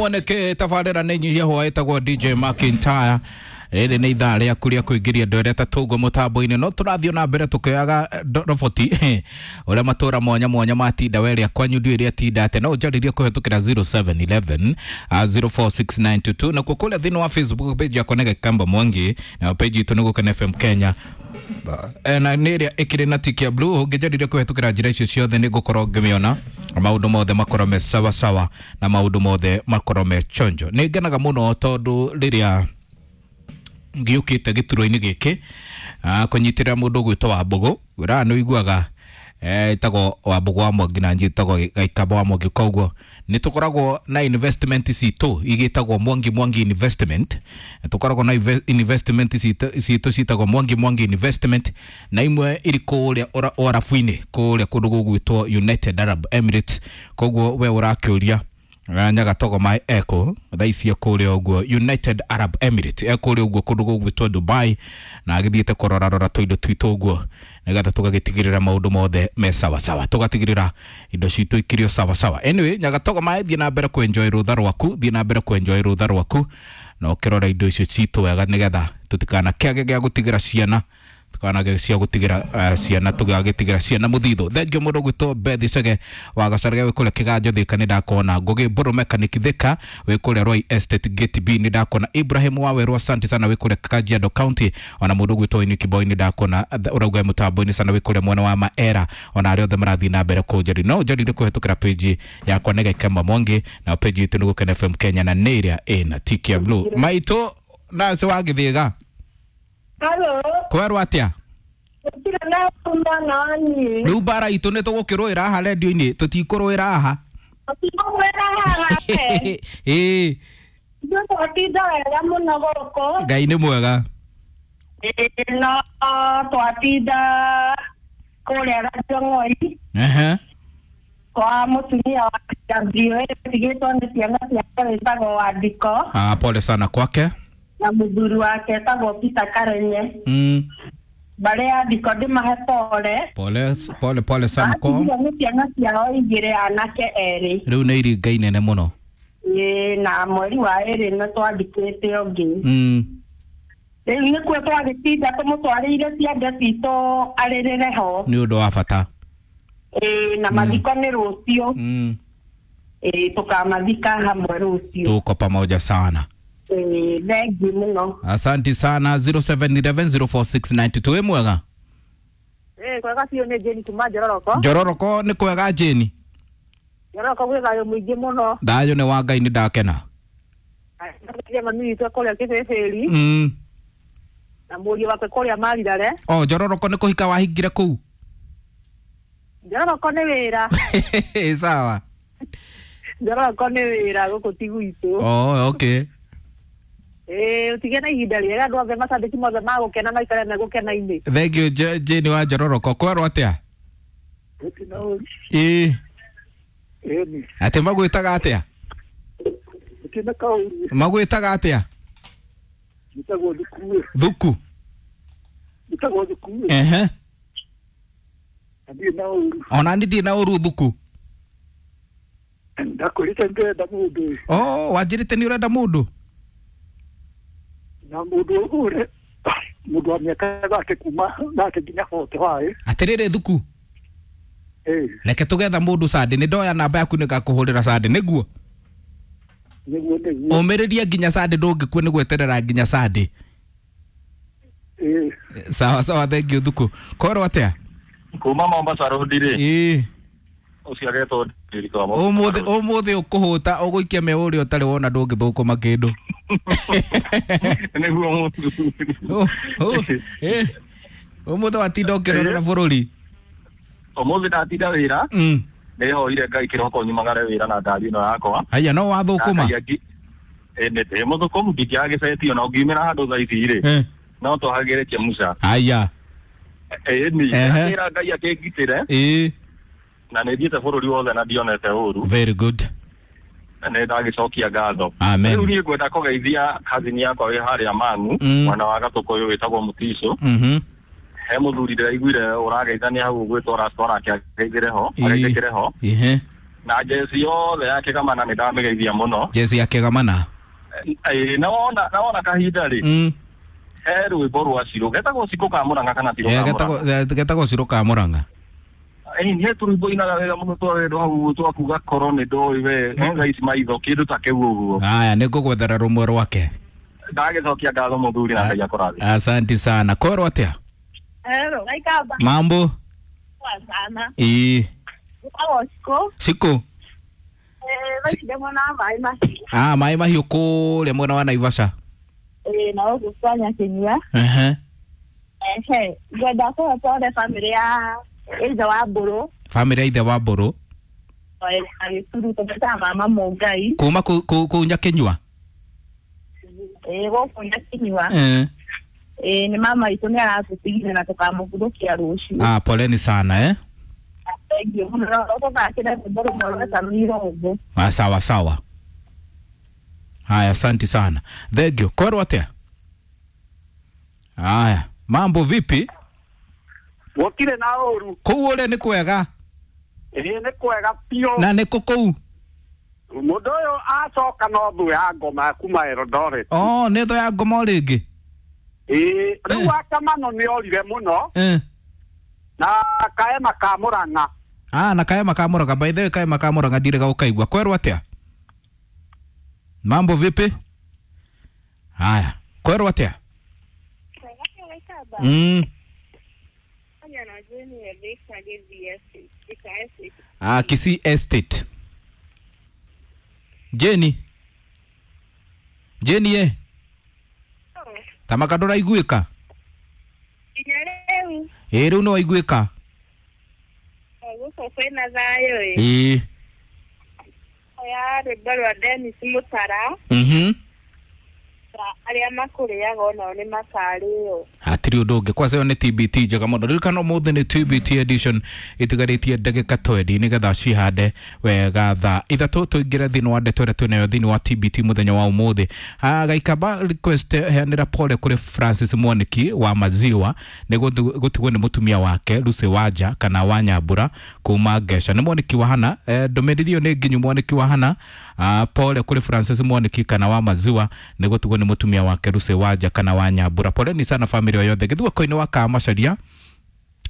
Woneke tabarĩra nĩ nyihia hwa ĩtagwo DJ McIntyre. Rĩrĩ nĩ ithaa rĩaku rĩa kũingĩria andũ arĩa tatũguo mũtambo-inĩ, no tũrathiĩ na mbere tũkĩoyaga roboti ũrĩa matũra mwanya mwanya matinda we rĩa kwanyu ndiũĩ rĩa tinda atĩa, no ũnjarĩrie kũhetũkĩra 0711 046922, nakuo kũrĩa thĩinĩ wa Facebook page yakwa nĩ Gĩkamba Mwangi, na page itũ nĩ Gũkena FM Kenya. Na nä ä rä a ä kä rä na tiki ya blue. Ũngĩnjarĩria kũhetũkĩra njĩra icio ciothe nĩ ngũkorwo ngĩmĩona, maũndũ mothe makorwo me sawasawa na maũndũ mothe makorwo me chonjo. Nĩ ngenaga mũno tondũ rĩrĩa ngĩũkĩte gĩturwa-inĩ gĩkĩ kũnyitĩrĩra mũndũ ũgwĩtwo Wambũgũ wĩraga nĩ ũiguaga ĩtagwo Wambũgũ wa Mwangi na njĩtagwo Gaikamba wa Mwangi, koguo nĩ tũkoragwo na investment citũ igĩtagwo Mwangi Mwangi Investment. Tũkoragwo na investment citũ citagwo Mwangi Mwangi Investment, na imwe iri kũrĩa Ũarabu-inĩ, kũrĩa kũndũ gũgwĩtwo United Arab Emirates. Koguo we ũrakĩũria Nyagatogo mai eko thaa ici kũrĩa ũguo United Arab Emirates, ekũrĩa ũguo kũndũ gũgwĩtwo Dubai, na agĩthiĩte kũrorarora tũindo twitũ ũguo nĩgetha tũgagĩtigĩrĩra maũndũ mothe me sawasawa, tũgatigĩrĩra indo citũ ikĩrĩ o sawasawa. Anyway, Nyagatogo mai, thiĩ na mbere kwenjoy rũtha rwaku, thiĩ na mbere kwenjoy rũtha rwaku na ũkĩrora indo icio citũ wega nĩgetha tũtikanakĩage gĩa gũtigĩra ciana, tukanage cia gũtigĩra ciana, tũgagĩtigĩra ciana mũthithũ. Thengiũ mũndũ gwĩtwo Beth Chege wa Gacarage wĩ kũrĩa Kĩganjo Thika, nĩ ndakona Ngũgĩ Mbũrũ Mechanic Thika wĩ kũrĩa Roy Estate Gate B, nĩ ndakona Ibrahim Wawerũ, asante sana, wĩ kũrĩa Kajiado County. Ona mũndũ gwĩtwo Iniki Boy nĩ ndakona ũrauga mũtambo-inĩ sana wĩ kũrĩa mwena wa Maera. Ona arĩa othe marathiĩ na mbere kũnjari, no ũnjarire kũhetũkĩra page yakwa nĩ Gĩkemba Mwangi, na page itũ nĩ Gũkena FM Kenya, na nĩ ĩrĩa ĩna tiki ya blue. Maitũ Nancy wa Gĩthĩga. Halo, kwerwo atĩa? Gũtirĩ na mwana wa niĩ. Rĩu mbara itũ nĩ tũgũkĩrũĩra haha rendio-inĩ, tũtikũrũĩra haha. Tũtikũrũĩra haha we. Ĩĩ. Ithuĩ twatinda wega mũno gũkũ. Ngai nĩ mwega. Ĩĩ, no twatinda kũrĩa Gachong'oi kwa mũtumia wa WA tigĩtwo nĩ ciana ciake wĩtagwo Wandiko. Ah, pole sana kwake. Na mũthuri wake etagwo Peter Karenye. Mbarĩ ya Ndiko ndĩmahe pole. Pole pole pole sana kwa. Atigire nĩ ciana ciao igĩrĩ, anake erĩ. Rĩu nĩ iringa inene mũno. Ĩĩ, na mweri wa ĩrĩ nĩ twandĩkĩte ũngĩ. Rĩu nĩkuo twagĩtinda tũmũtwarĩire ciande citũ arĩrĩre ho. Nĩ ũndũ wa bata. Ĩĩ, na mathiko nĩ rũciũ. Ĩĩ, tũkamathika hamwe rũciũ. Tuko pamoja sana. Thengiũ mũno. Asante sana. 0711 04692, wĩ mwega? Kwega biũ, nĩ Jane kuma Njororoko. Njororoko nĩ kwega, Jane? Njororoko gwĩ thayũ mũingĩ mũno. Thayũ nĩ wa Ngai, nĩ ndakena. Nĩ mami witũ kũrĩa Kĩbĩbĩri na mũriũ wake kũrĩa Marirare. O Njororoko nĩ kũhika wahingire kũu? Njororoko nĩ wĩra. Sawa. Njororoko nĩ wĩra, gũkũ ti gwitũ. Oh, okay. Ĩĩ, ũtige na ihinda rĩega, andũ othe macambĩki mothe magũkena maikare megũkena-inĩ. Thank you, Jane wa Njororoko. Kwerwo atĩa? Ĩĩ. Atĩ magwĩtaga atĩa? Magwĩtaga atĩa? Njĩtagwo Thukue. Thuku. Njĩtagwo Thukue. Ehe. Na ndirĩ na ũru. Ona niĩ ndirĩ na ũru, Thuku. Ndakwĩrĩte ndĩrenda mũndũ. Oh, wanjĩrĩte nĩ ũrenda mũndũ? Na mũndũ ũrĩ mũndũ wa mĩaka 30 kuma 30 nginya 45. Atĩrĩrĩ Thuku. Ĩĩ. Reke tũgetha mũndũ Sunday, nĩ ndoya namba yaku nĩngakũhũrĩra Sunday, nĩguo? Nĩguo nĩguo. Ũmĩrĩrie nginya Sunday, ndũngĩkua nĩ gweterera nginya Sunday. Ĩĩ. Sawa sawa, thank you Thuku. Kwerwo atĩa? Kuma Mombasa Road rĩ. Ĩĩ. Ũcio agetwo Ndirikũ wa Mombasa Ũmũthĩ Road. ũmũthĩ ũkũhũta ũgũikia me ũrĩa ũtarĩ wona, ndũngĩthũkũma kĩndũ. Nĩguo mũthuri. Oh, ũmũthĩ watinda ũkĩrorera bũrũri. Ũmũthĩ ndatinda wĩra. Nĩhoire Ngai kĩroko nyumagare wĩra na ngari ĩno yakwa. Haya, no wathũkũma? Nĩ ndĩ mũthũkũmu, ndingĩaga gĩbeti ona ũngiumĩra handũ thaa ici rĩ. No twahagĩre Chemusa. Haya. Ĩni. Ehe. Ndĩra Ngai akĩngitĩre. Ĩĩ. Na nĩ thiĩte bũrũri wothe na ndionete ũru. Very good. Na nĩ ndagĩcokia ngatho. Amen. Rĩu niĩ ngwenda kũgeithia kazini yakwa wĩ harĩa Mang'u, mwena wa Gatũkũyũ, wĩtagwo Mũtico. He mũthuri ndĩraiguire ũrageithania hau ũgwĩtwo Rasta, onake ageithĩre ho, Ĩĩ. ageithĩkĩre ho. Ihe. Na jezi yothe ya Kĩgamana nĩ ndamĩgeithia mũno. Jezi ya Kĩgamana. Naona kahinda rĩ. He rwĩmbo rwa Cirũ getagwo Cikũ ka Mũrang'a kana ti rwa Mũrang'a? Getagwo Cirũ ka Mũrang'a. Nĩ tũrwĩmbo inaga wega mũno twa hau twakuga korwo nĩ ndoĩ we thaa ici maitho kĩndũ ta kĩu ũguo. Haya, nĩngũgwethera rũmwe rwake. Ndagĩcokia ngatho mũthuri na Ngai akũrathime. Asante sana. Korwo atĩa? Hello, Gaikamba. Mambo? Poa sana. Ĩĩ. Cikũ. Cikũ. Mwena wa Maĩ Mahiũ. Ah, Maĩ Mahiũ kũrĩa mwena wa Naivasha. Ĩĩ, na gũkũ kwa Nyakinyua. Ehe. Ehe, ngwenda kũhe pole bamĩrĩ ya ithe wa Mbũrũ. Bamĩrĩ ya ithe wa Mbũrũ. Agĩturu tũmetaga mama Mũngai. Kuma kũu Nyakinyua? Ĩĩ, gũkũ Nyakinyua. Ĩĩ, nĩ mama witũ nĩ aratũtigire na tũkamũhurũkia rũciũ. Ah, poleni sana eh. Ah, sawa sawa. Haya, asante sana. Thank you. Korwo atĩa? Haya, mambo vipi? Gũtirĩ na ũru. Kũu ũrĩa nĩ kwega? Ĩĩ, nĩ kwega biũ. Na nĩ kũ kũu? Mũndũ ũyũ acoka no thũ ya ngoma kuma Eldoret. Oh, nĩ thũ ya ngoma o rĩngĩ? Ĩĩ, rĩu Akamano nĩ orire mũno. Na Kaema ka Mũrang'a. Ah, na Kaema ka Mũrang'a. By the way, Kaema ka Mũrang'a ndirĩ gaũkaigua. Kwerwo atĩa? Mambo vipi? Haya, kwerwo atĩa? Ah, Kisii Estate. Jenny. Jenny ye. Tamaka ndũraiguĩka? Ĩĩ, rĩu nĩ waiguĩka. Gũkũ kwĩna thayũ ĩ. Ĩĩ. Oya rwĩmbo rwa Dennis Mũtara. Arĩa makũrĩaga onao nĩ makarĩo. Hatirĩ ũndũ ũngĩ. Kwanza ĩyo nĩ TBT njega mũno. Ririkana ũmũthĩ nĩ TBT edition ĩtigarĩtie ndagĩka 20 nĩgetha cihande wega thaa 3 tũingĩre thĩinĩ wa ndeto ĩrĩa twĩnayo thĩinĩ wa TBT mũthenya wa ũmũthĩ. Gaikamba request heanĩra pole kũrĩ Francis Mwaniki wa Maziwa nĩ gũtigwo nĩ mũtumia wake Lucy Wanja kana wa Nyambura kuma Ngeca. Nĩ Mwaniki wa Hana. Ndũmĩrĩri ĩyo nĩ nginyu Mwaniki wa Hana. Pole kũrĩ Francis Mwaniki kana wa Maziwa nĩ gũtigwo nĩ mũtumia wake Lucy Wanja kana wa Nyambura. Poleni sana family yothe. Gĩthuako-inĩ wa Kamacaria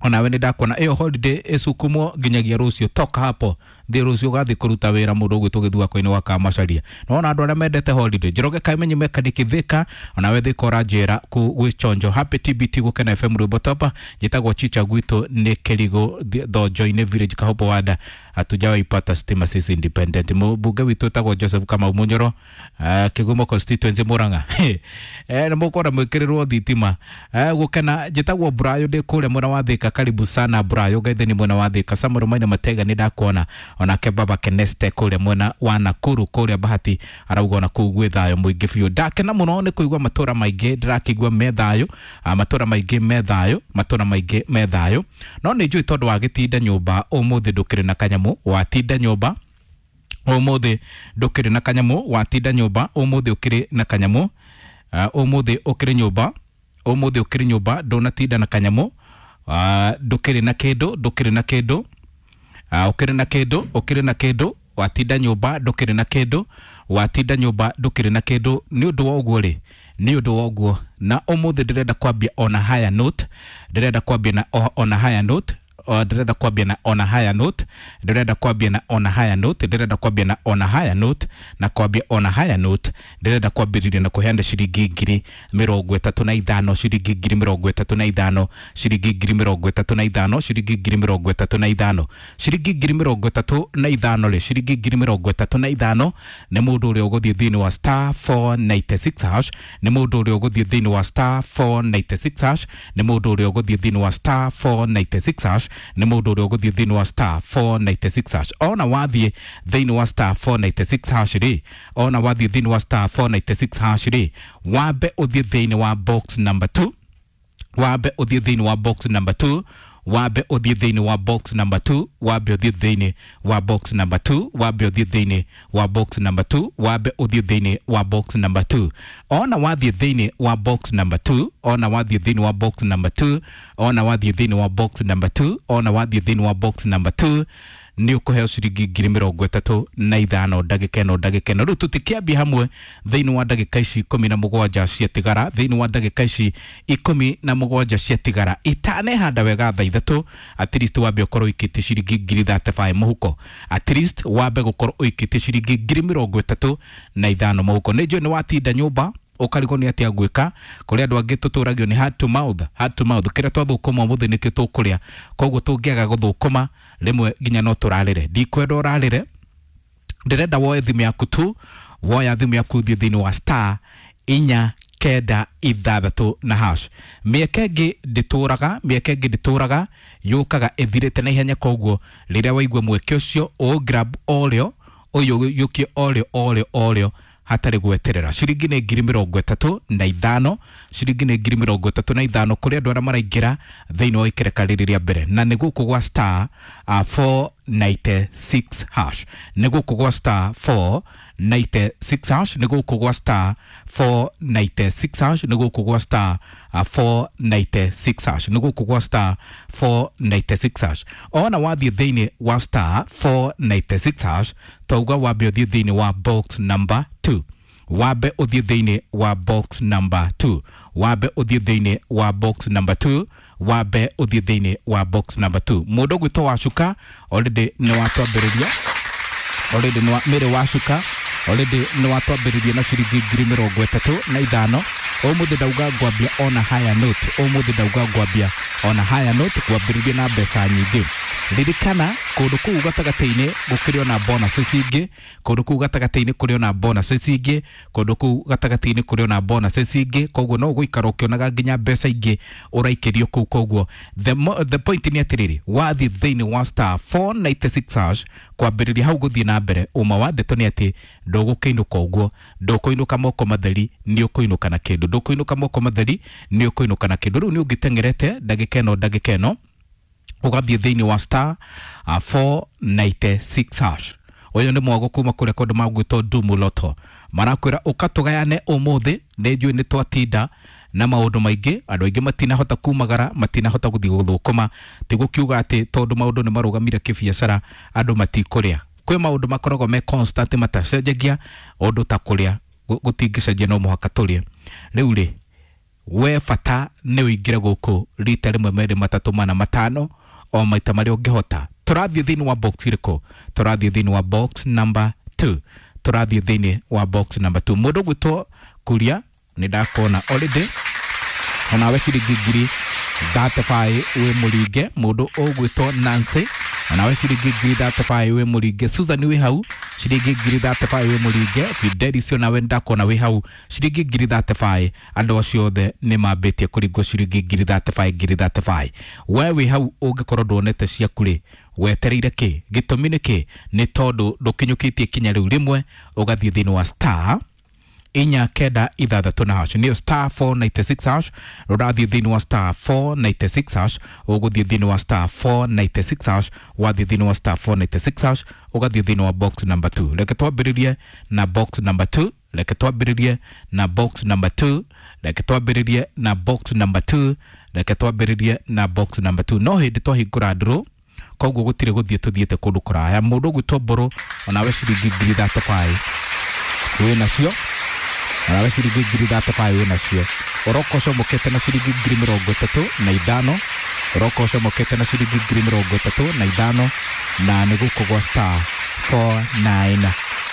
onawe nĩ ndakuona ĩyo holiday ĩcukumwo nginyagia rũciũ. Toka hapo thiĩ rũciũ ũgathiĩ kũruta wĩra mũndũ ũgwĩtwo Gĩthuako-inĩ wa Kamacaria. Nĩwona andũ arĩa mendete holiday. Njoroge Kaimenyi mechanic Thika onawe Thika ũranjĩra gwĩ Chonjo. Happy TBT Gũkena FM rwĩmbo topa. Njĩtagwo Chicha gwitũ nĩ Kĩrigũ Thonjo-inĩ village Kahobo Wanda. Hatujawaipata stima sisi independent. Mũmbunge witũ etagwo Joseph Kamau Munyoro, Kĩgumo constituency Murang'a. Nĩ mũkũona mwĩkĩrĩrwo thitima. Gũkena njĩtagwo Brayo ndĩ kũrĩa mwena wa Thika. Karibu sana Brayo Gaitheni mwena wa Thika. Samuel Maina Matega nĩ ndakuona onake baba Keneste kũrĩa mwena wa Nakuru kũrĩa Bahati arauga ona kũu gwĩ thayũ mũingĩ biũ. Ndakena mũno nĩ kũigua matũra maingĩ ndĩrakĩigua me thayũ, matũra maingĩ me thayũ, matũra maingĩ me thayũ. No nĩ njũĩ tondũ wagĩtinda nyũmba ũmũthĩ ndũkĩrĩ na kanyamũ, watinda nyũmba ũmũthĩ ndũkĩrĩ na kanyamũ, watinda nyũmba ũmũthĩ ũkĩrĩ na kanyamũ, ũmũthĩ ũkĩrĩ nyũmba, ũmũthĩ ũkĩrĩ nyũmba ndũnatinda na kanyamũ, ndũkĩrĩ na kĩndũ, ndũkĩrĩ na kĩndũ, ũkĩrĩ na kĩndũ, ũkĩrĩ na kĩndũ, watinda nyũmba ndũkĩrĩ na kĩndũ, watinda nyũmba ndũkĩrĩ na kĩndũ. Nĩ ũndũ wa ũguo rĩ, nĩ ũndũ wa ũguo na ũmũthĩ ndĩrenda kwambia ona higher note, ndĩrenda kwambia na ona higher note, ndĩrenda kwambia na ona higher note, ndĩrenda kwambia na ona higher note, ndĩrenda kwambia na ona higher note, na kwambia ona higher note, ndĩrenda kwambĩrĩria na kũheana ciringi 35,000, ciringi 35,000, ciringi 35,000, ciringi 35,000, ciringi 35,000 rĩ, ciringi 35,000 nĩ mũndũ ũrĩa ũgũthiĩ thĩinĩ wa star 496 hash, nĩ mũndũ ũrĩa ũgũthiĩ thĩinĩ wa star 496 hash, nĩ mũndũ ũrĩa ũgũthiĩ thĩinĩ wa star 496 hash, nĩ mũndũ ũrĩa ũgũthiĩ thĩinĩ wa star 496 hash. Ona wathiĩ thĩinĩ wa star 496 hash rĩ, ona wathiĩ thĩinĩ wa star 496 hash rĩ, wambe ũthiĩ thĩinĩ wa box number 2, wambe ũthiĩ thĩinĩ wa box number 2, wambe ũthiĩ thĩinĩ wa box number 2, wambe ũthiĩ thĩinĩ wa box number 2, wambe ũthiĩ thĩinĩ wa box number 2, wambe ũthiĩ thĩinĩ wa box number 2. Ona wathiĩ thĩinĩ wa box number 2, ona wathiĩ thĩinĩ wa box number 2, ona wathiĩ thĩinĩ wa box number 2, ona wathiĩ thĩinĩ wa box number 2, Nĩ ũkũheo ciringi 35,000 ndagĩka ĩno ndagĩka ĩno. Rĩu tũtikĩambia hamwe thĩinĩ wa ndagĩka ici 17 ciatigara, thĩinĩ wa ndagĩka ici 17 ciatigara itanehanda wega thaa 3, at least wambe ũkorwo ũikĩtie ciringi 35,000 mũhuko, at least wambe gũkorwo ũikĩtie ciringi 35,000 mũhuko. Nĩ njũĩ nĩ watinda nyũmba ũkarigwo nĩ atĩa ngwĩka. Kũrĩ andũ angĩ tũtũragio nĩ hand to mouth, hand to mouth, kĩrĩa twathũkũma ũmũthĩ nĩkĩo tũkũrĩa, koguo tũngĩaga gũthũkũma rĩmwe nginya no tũrarĩre. Ndikwenda ũrarĩre, ndĩrenda woe thimũ yaku tu, woya thimũ yaku ũthiĩ thĩinĩ wa star 4 9 6 na hash. Mĩeke ĩngĩ ndĩtũraga, mĩeke ĩngĩ ndĩtũraga, yũkaga ĩthirĩte na ihenya, koguo rĩrĩa waigua mweke ũcio ũgrab orĩo, ũyũ yũkie orĩo orĩo orĩo hatarĩ gweterera. Ciringi nĩ 35,000, ciringi nĩ 35,000 kũrĩ andũ arĩa maraingĩra thĩinĩ wa ikereka rĩrĩ rĩa mbere, na nĩ gũkũ gwa star 496 hash, nĩ gũkũ gwa star 496 hash, nĩ gũkũ gwa star 496 hash, nĩ gũkũ gwa star 496 hash, nĩ gũkũ gwa star 496 hash. Ona wathiĩ thĩinĩ wa star 496 hash, twauga wambe ũthiĩ thĩinĩ wa box number 2, wambe ũthiĩ thĩinĩ wa box number 2, wambe ũthiĩ thĩinĩ wa box number 2, wambe ũthiĩ thĩinĩ wa box number 2. Mũndũ ũgwĩtwo Wacuka already nĩ watwambĩrĩria, already nĩ Mary Wacuka already nĩ watwambĩrĩria na ciringi 35,000. Ũmũthĩ ndauga ngwambia ona higher note, ũmũthĩ ndauga ngwambia ona higher note, kwambĩrĩria na mbeca nyingĩ. Ririkana kũndũ kũu gatagatĩ-inĩ gũkĩrĩ ona bonuses ingĩ, kũndũ kũu gatagatĩ-inĩ kũrĩ ona bonuses ingĩ, kũndũ kũu gatagatĩ-inĩ kũrĩ ona bonuses ingĩ, koguo no ũgũikara ũkĩonaga nginya mbeca ingĩ ũraikĩrio kũu. Koguo the point nĩ atĩrĩrĩ, wathiĩ thĩinĩ wa star 496 hash kwambĩrĩria hau gũthiĩ na mbere, ũma wa ndeto nĩ atĩ ndũgũkĩinũka ũguo, ndũkũinũka moko matheri, nĩ ũkũinũka na kĩndũ, ndũkũinũka moko matheri, nĩ ũkũinũka na kĩndũ. Rĩu nĩ ũngĩteng'erete ndagĩka ĩno ndagĩka ĩno ũgathiĩ thĩinĩ wa star 496 hash. Ũyũ nĩ mwago kuma kũrĩa kũndũ magwĩtwo Dumu Lotto, marakwĩra ũka tũgayane ũmũthĩ. Nĩ njũĩ nĩ twatinda na maũndũ maingĩ, andũ aingĩ matinahota kumagara, matinahota gũthiĩ gũthũkũma, ti gũkiuga atĩ tondũ maũndũ nĩ marũgamire kĩbiacara andũ matikũrĩa. Kwĩ maũndũ makoragwo me constant matacenjagia, ũndũ ta kũrĩa gũtingĩcenjia, no mũhaka tũrĩe. Rĩu rĩ, we bata nĩ ũingĩre gũkũ rita rĩmwe merĩ matatũ mana matano, o maita marĩa ũngĩhota. Tũrathiĩ thĩinĩ wa box ĩrĩkũ? Tũrathiĩ thĩinĩ wa box number 2, tũrathiĩ thĩinĩ wa box number 2. Mũndũ ũgwĩtwo Kuria nĩ ndakuona already, onawe ciringi 35,000 wĩ mũringe. Mũndũ ũgwĩtwo Nancy onawe ciringi 35,000 wĩ mũringe. Susan wĩ hau ciringi 35,000 wĩ mũringe. Fidelis onawe ndakuona wĩ hau ciringi 35,000. Andũ acio othe nĩ mambĩtie kũringwo ciringi 35,000 35,000. We wĩ hau ũngĩkorwo nduonete ciaku rĩ, wetereire kĩ? Gĩtũmi nĩ kĩ? Nĩ tondũ ndũkinyũkĩtie kinya rĩu rĩmwe ũgathiĩ thĩinĩ wa star 4 9 6 na hash, nĩyo star 496 hash. Ũrathiĩ thĩinĩ wa star 496 hash, ũgũthiĩ thĩinĩ wa star 496 hash, wathiĩ thĩinĩ wa star 496 hash, ũgathiĩ thĩinĩ wa box number 2. Reke twambĩrĩrie na box number 2, reke twambĩrĩrie na box number 2, reke twambĩrĩrie na box number 2, reke twambĩrĩrie na box number 2. No hĩndĩ twahingũra ndũrũ, koguo gũtirĩ gũthiĩ tũthiĩte kũndũ kũraya. Mũndũ ũgwĩtwo Mbũrũ onawe ciringi 35,000 wĩ nacio, onawe ciringi 35,000 wĩ nacio. Ũroka ũcomokete na ciringi 35,000, ũroka ũcomokete na ciringi 35,000, na nĩ gũkũ gwa star 496